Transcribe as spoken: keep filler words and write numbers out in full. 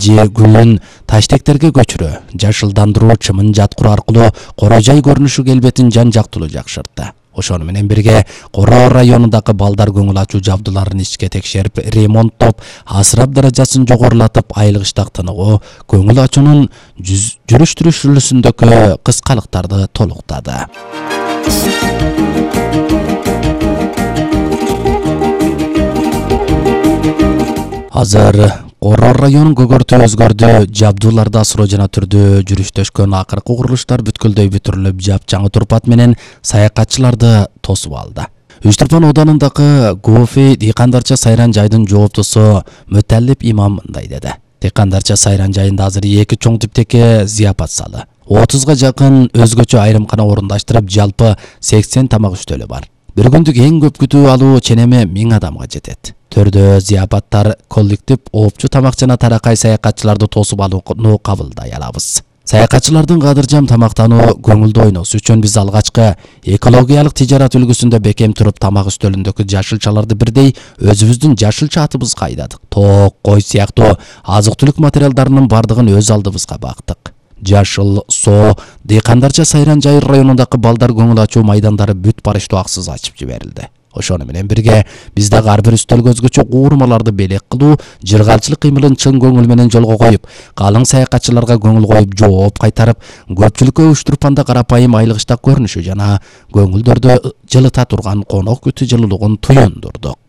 же гүлүн таштектерге көчүрүү, жашылдандыруу, чымын жаткыруу аркылуу кора жай көрүнүшү келбетин жан жактылуу жакшыртты. Ошону менен бирге Кора районундагы балдар көңүл ачуу жабдууларын ичке текшерип, ремонттоп, асырап даражасын жогорулатып, айлык тыныгуу, көңүл ачуунун жүрүш-турушүндөгү кыскалыктарды толуктады. Азыр Кора районунун көгөртү өзгөрдү, жабдууларда асыроо жана түрдө жүрүштөшкөн акыркы курулуштар бүткүлдөй бүтүрүлүп, жапжаңы турпат менен саякатчыларды тосуп алды. Үч Турпан оданындагы Гофи дыйкандарча сайран жайдын жооптусу Мөталлип имам мындай деди. Дыйкандарча сайран жайында азыр эки чоң типтеги зыяпат залы, отузга жакын өзгөчө айрымкана орундаштырып, жалпы сексен тамак үстөлү бар. Бир күндүк эң көп күтүү алуу ченеми миң адамга жетет. Төрдө зыяпаттар, коллектив, оопчу тамак жана таракай саякатчыларды тосуп алууну кабылдай алабыз. Саякатчылардын кадыржам тамактануу, көңүлдүү ойносу үчүн биз алгачкы экологиялык тижарат үлгүсүндө бекем туруп тамак үстөлүндөгү жашылчаларды бирдей өзүбүздүн жашылча атыбызга айдадык. Тоок, кой сыяктуу азык-түлүк материалдарынын бардыгын өз алдыбызга бактык. Жашыл, соо, дыйкандарча сайран жай районундагы балдар көңүл ачуу майдандары бүт барыштуу аксыз ачып жиберилди. Ошону менен бирге биз дагы ар бир үстөлгө өзгөчө уурмаларды белек кылуу, жыргалчылык кыймылын чын көңүл менен жолго коюп, калың саякатчыларга көңүл коюп, жооп кайтарып, көпчүлүккө Үч Турпанда карапайым айлык көрүнүшү жана көңүлдөрдө жылыта турган конок күтүү жылуулугун туюндурдук.